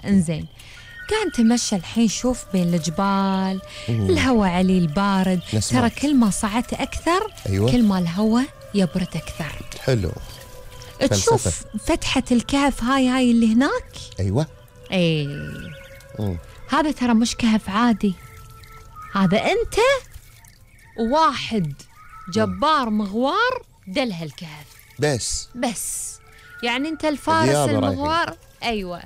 انزين، قاعد تمشى الحين، شوف بين الجبال الهواء عليه البارد. ترى كل ما صعدت أكثر أيوة. كل ما الهواء يبرد أكثر. حلو. تشوف فلسفة. فتحة الكهف هاي اللي هناك. أيوة. ايه هذا ترى مش كهف عادي، هذا أنت وواحد جبار مغوار دل هالكهف. بس يعني أنت الفارس المغوار. أيوة.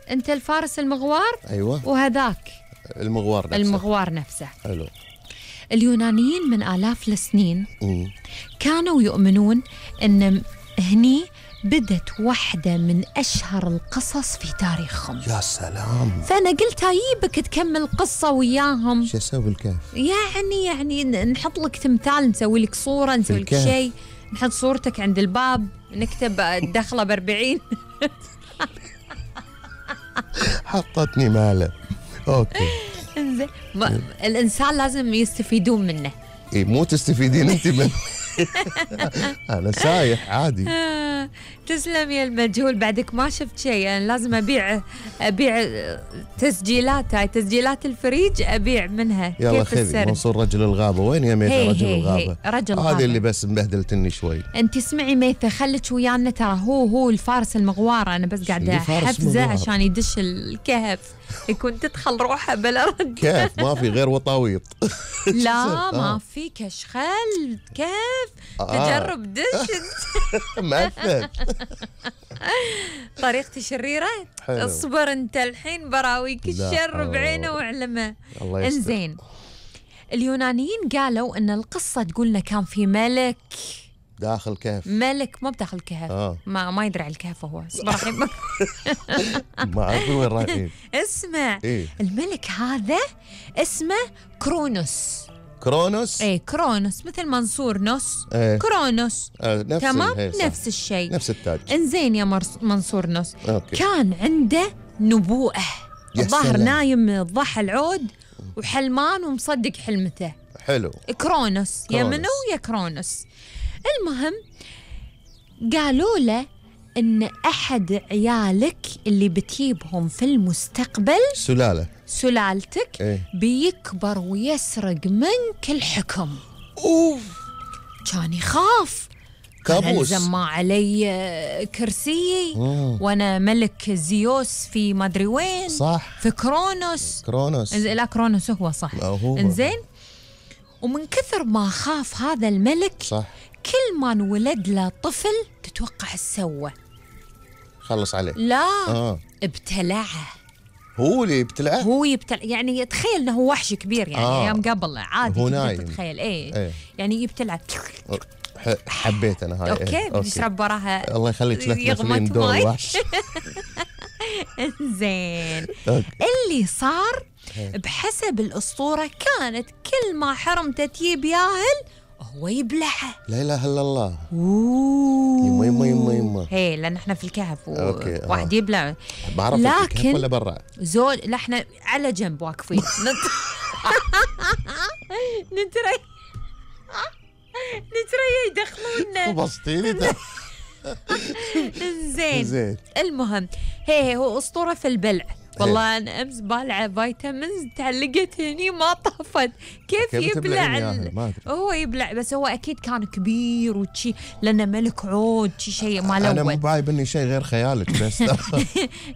أنت الفارس المغوار. أيوة. وهذاك المغوار نفسه. حلو. اليونانيين من آلاف السنين كانوا يؤمنون أن هني بدت واحدة من أشهر القصص في تاريخهم. يا سلام. فأنا قلت أجيبك تكمل قصة وياهم. شو أسوي بالكهف؟ يعني نحط لك تمثال، نسوي لك صورة، نسوي لك شيء، نحط صورتك عند الباب، نكتب الدخلة ب40. حطتني ماله. أوكي. الإنسان لازم يستفيدون منه. إيه مو تستفيدين أنت منه. أنا سايح عادي. تسلم يا المجهول، بعدك ما شفت شيء. أنا لازم أبيع تسجيلات، هاي تسجيلات الفريج أبيع منها. يلا خذي منصور رجل الغابة. وين يا ميثة رجل الغابة؟ هذه اللي بس مبهدلتني شوي. أنت اسمعي ميثة، خليك ويانا، ترى هو الفارس المغوار. أنا بس قاعدة أحفزه عشان يدش الكهف، يكون تدخل روحه بلا رد. كيف ما في غير وطاويط؟ لا ما في كشخل كيف تجرب دش. مثل طريقتي شريرة. اصبر انت الحين براويك الشر بعينه وعلمه. انزين، اليونانيين قالوا ان القصة تقولنا كان في ملك داخل كهف. ملك مو بداخل كهف. ما يدري على الكهف هو. اصبر الحين ما اعرف وين رايحين. اسمع. الملك هذا اسمه كرونوس. كرونوس مثل منصور نص. كرونوس. تمام. نفس الشيء، نفس التاج. انزين يا منصور نص. كان عنده نبوءة. الظاهر نايم الضحى العود وحلمان ومصدق حلمته. حلو. كرونوس. يا منو يا كرونوس. المهم قالوا له ان احد عيالك اللي بتجيبهم في المستقبل، سلالتك، بيكبر ويسرق منك الحكم. كان يخاف. كابوس. ما علي كرسي وانا ملك زيوس في ما ادري وين. صح. في كرونوس. لا كرونوس هو صح. انزين، ومن كثر ما خاف هذا الملك، صح، كل ما انولد له طفل تتوقع ايش سوى؟ خلص عليه. لا ابتلعه. هو اللي يبتلعه؟ هو يبتلع، يعني تخيل انه هو وحش كبير، يعني ايام قبل عادي هو نايم. تتخيل. يعني يبتلع. حبيت انا هاي. اوكي بتشرب وراها. الله يخليك لا تمثلين دور الوحش. زين. اللي صار بحسب الأسطورة كانت كل ما حرمته تجيب ياهل هو يبلعه. لا إله إلا الله. يما هي لأن احنا في الكهف واحد يبلع. بعرف الكهف ولا برا؟ لا احنا على جنب واقفين. نتري يدخلونا. بسطيني. زين. المهم هو أسطورة في البلع. والله أنا أمس بالعة فيتامينز تعلقت هني ما طافت. كيف يبلع؟ هو يبلع، بس هو أكيد كان كبير وشي، لأنه ملك عود شيء ما لون. أنا مو بايب إني شيء غير خيالك بس.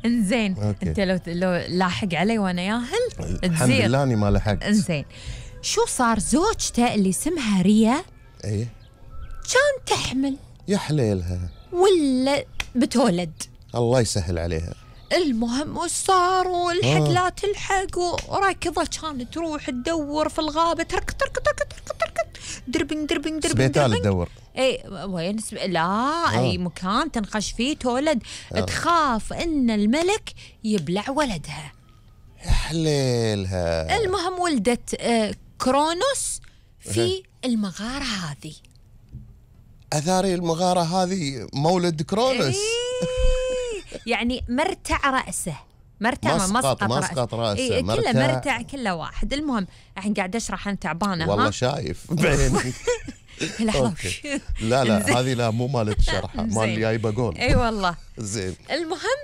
إنزين أنت لو لاحق علي وأنا ياهل الحمد لله أني ما لحقت. إنزين، شو صار؟ زوجته اللي اسمها ريا كان تحمل. يا حليلها. ولا بتولد. الله يسهل عليها. المهم وش صار؟ والحق لا تلحق، وركضة كانت تروح تدور في الغابة، تركض دربنج سبيتال تدور. وين لا اي مكان تنخش فيه تولد. تخاف ان الملك يبلع ولدها. يا حليلها. المهم ولدت كرونوس في المغارة هذه. أثاري المغارة هذه مولد كرونوس. يعني مرتع رأسه. مسقط رأسه. كله مرتع كله واحد. المهم الحين قاعد أشرح، أنا تعبانة. والله شايف بعيني. لا هذه لا مو مالت شرحة، مال اللي جايبه جول. اي والله. زين. المهم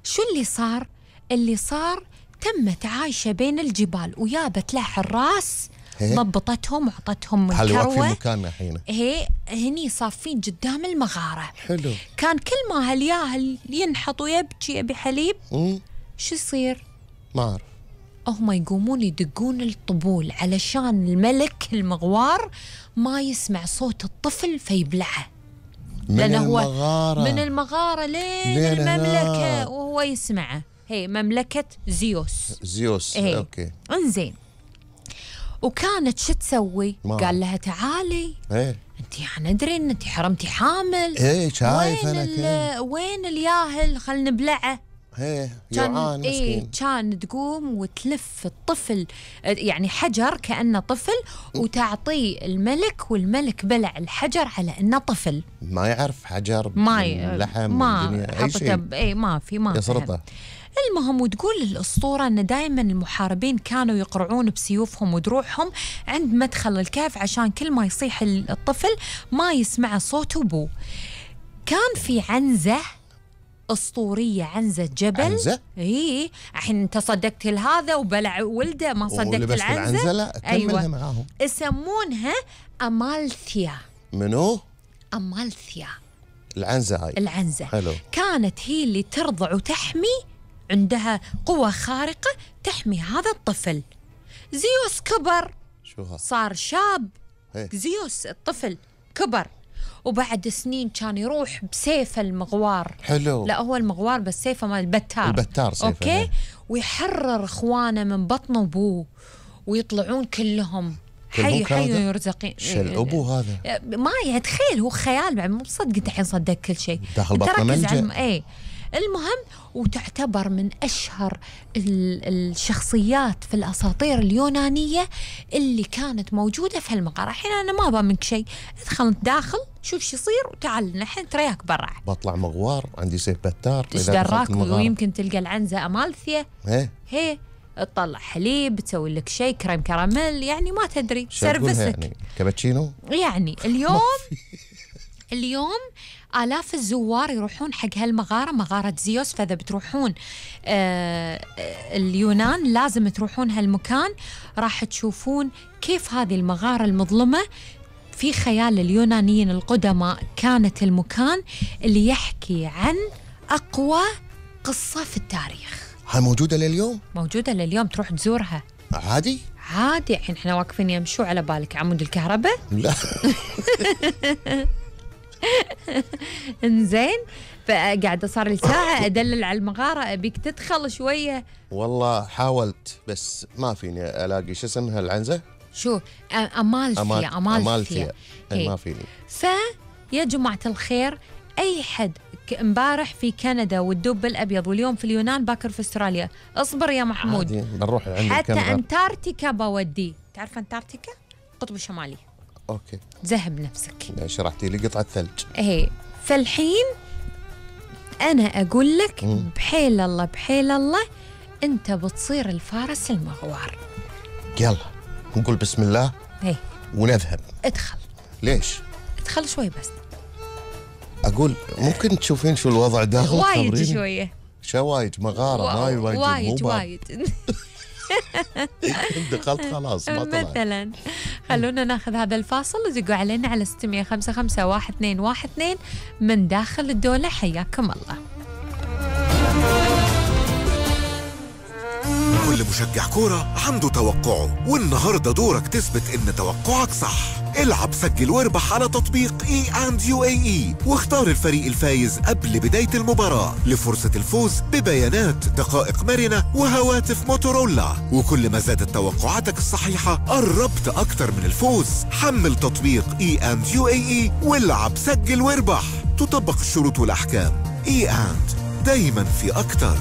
شو اللي صار؟ اللي صار تمت عايشة بين الجبال ويابت له حراس ضبطتهم وعطتهم الكروة. في مكاننا الحين هني صافين قدام المغارة. حلو. كان كل ما هالياهل ينحط ويبكي يبي حليب شو يصير؟ ما أعرف. هم يقومون يدقون الطبول علشان الملك المغوار ما يسمع صوت الطفل فيبلعه. من المغارة لين المملكة وهو يسمعه. هي مملكة زيوس. أوكي. انزين، وكانت شو تسوي؟ قال لها تعالي انتي ندري ان انتي حرمتي حامل. شايف انا وين الياهل خلنا نبلعه. جوعان مسكين. كان تقوم وتلف الطفل يعني حجر كأنه طفل وتعطيه الملك، والملك بلع الحجر على انه طفل. ما يعرف حجر لحم ما حطته ما يسرطه. المهم، وتقول الأسطورة أن دائما المحاربين كانوا يقرعون بسيوفهم ودروعهم عند مدخل الكهف عشان كل ما يصيح الطفل ما يسمع صوت أبوه. كان في عنزة أسطورية، عنزة جبل. عنزة؟ الحين أنت صدقت لهذا وبلع ولده، ما صدقت العنزة؟ لا كملها معاهم. يسمونها أمالثيا. منو؟ أمالثيا العنزة هاي. العنزة حلو. كانت هي اللي ترضع وتحمي، عندها قوة خارقة تحمي هذا الطفل. زيوس كبر، صار شاب. زيوس الطفل كبر، وبعد سنين كان يروح بسيف المغوار. حلو. لا هو المغوار بس سيفه مال البتار سيفه. أوكي. ويحرر إخوانه من بطن أبوه ويطلعون كلهم حي يرزقين. الأبو هذا ما يتخيل، هو خيال بعد، مو صدق انت الحين صدق كل شيء داخل بطن ملجأ. المهم، وتعتبر من أشهر الشخصيات في الأساطير اليونانية اللي كانت موجودة في هالمغارة. الحين أنا ما أبغى منك شيء، ادخل داخل شوف شو يصير وتعال، الحين ترياك برا. بطلع مغوار عندي سيف بتار. ايش دراك؟ ويمكن تلقى العنزة أمالثيا. هي تطلع حليب، تسوي لك شيء كريم كراميل، يعني ما تدري سيرفسك يعني كابتشينو. يعني اليوم آلاف الزوار يروحون حق هالمغارة، مغارة زيوس. فإذا بتروحون اليونان لازم تروحون هالمكان، راح تشوفون كيف هذه المغارة المظلمة في خيال اليونانيين القدماء كانت المكان اللي يحكي عن أقوى قصة في التاريخ. هاي موجودة لليوم؟ موجودة لليوم، تروح تزورها عادي. الحين احنا واقفين يمشوا على بالك عمود الكهرباء؟ لا. انزين، فقاعدة صار لي ساعة أدلل على المغارة، أبيك تدخل شوية. والله حاولت بس ما فيني ألاقي شو اسمها العنزة؟ شو أمالثيا. ما فيني. فيا جماعة الخير، أي حد امبارح في كندا والدب الأبيض واليوم في اليونان باكر في أستراليا، اصبر يا محمود. بنروح عند حتى أنتاركتيكا بودي. تعرف أنتاركتيكا؟ القطب الشمالي. أوكي. ذهب نفسك. شرحتي لي قطعة ثلج. فالحين أنا أقول لك بحيل الله أنت بتصير الفارس المغوار. يلا نقول بسم الله ونذهب. ادخل. ليش؟ ادخل شوي بس. أقول ممكن تشوفين شو الوضع داخل؟ وايد شوية. شوايج مغارة وايد. دخلت خلاص ما طلعت. مثلا خلونا ناخذ هذا الفاصل وزقوا علينا على 655-1212 من داخل الدولة. حياكم الله. كل مشجع كورة عنده توقعه، والنهاردة دورك تثبت إن توقعك صح. العب سجل واربح على تطبيق E&UAE واختار الفريق الفايز قبل بداية المباراة لفرصة الفوز ببيانات، دقائق مرنة وهواتف موتورولا. وكل ما زادت توقعاتك الصحيحة قربت أكتر من الفوز. حمل تطبيق E&UAE والعب سجل واربح. تطبق الشروط والأحكام. E&, دايما في أكتر.